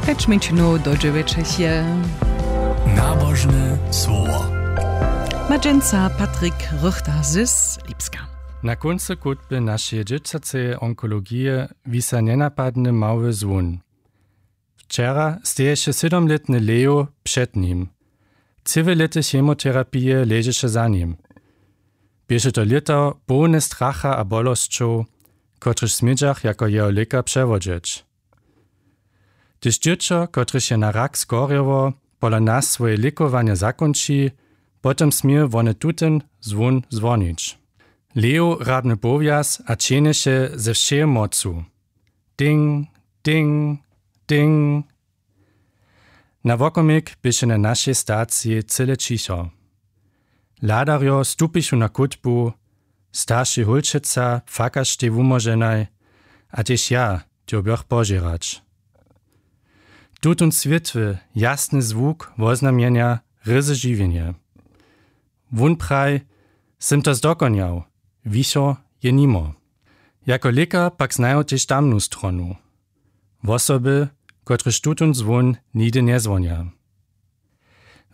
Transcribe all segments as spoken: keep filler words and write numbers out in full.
Pjeć mjeńšinow do dźewjećich je. Nabožne słowo. Ma dźensa Patrik Rychter z Lipska. Na kóncu chutby našeje dźěćaceje onkologije wisa njenapadny mały zwón. Wčera steješe sydomlětny Leo před nim. Cyłe lěty chemoterapije ležeše za nim. Běše to lěto połne stracha a bolosćow, kotryž smědźach jako jeho lěka přewodźeć. Hdyž dźěćo, kotrež je na rak skorjało, pola nas swoje lěkowanje zakónči, potom smě wone tutyn zwón zwonić. Leo rabny powjaz a ćehnješe ze wšeje mocu. Ding, ding, ding. Na wokomik běše na našej staciji cyle ćicho. Hladarjo stupichu na kótbu, starši hólčeca płakaštej wumóženaj, a tež ja dyrbjach požěrać. Tutón swětły, jasny zwuk woznamjenja ryzy žiwjenje. Wón praj: „Sym to zdokonjał, wichor je nimo.“ Jako lěkar pak znaju tež tamnu stronu. Wosoby, kotrež tutón zwón nihdy njezwonja.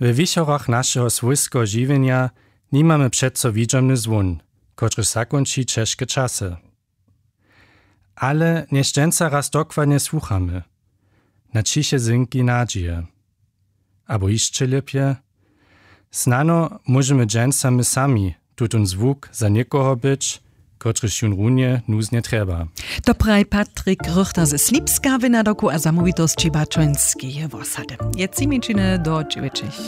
We wichorach našeho swójskeho žiwjenja nimamy přeco widźomny zwón, kotryž zakónči ćežke časy. Ale nješćenca raz dokładnje słuchamy. Na ćiche zynki nadźije. Abo hišće lěpje, snano móžemy dźensa my sami tutón zwuk za někoho być, kotryž jón runje nuznje trjeba. To praji Patrik Rychter ze Slipska w nadawku a zamołwitosći Bačońskeje wosady. Je tři mjeńšiny do dźewjećich.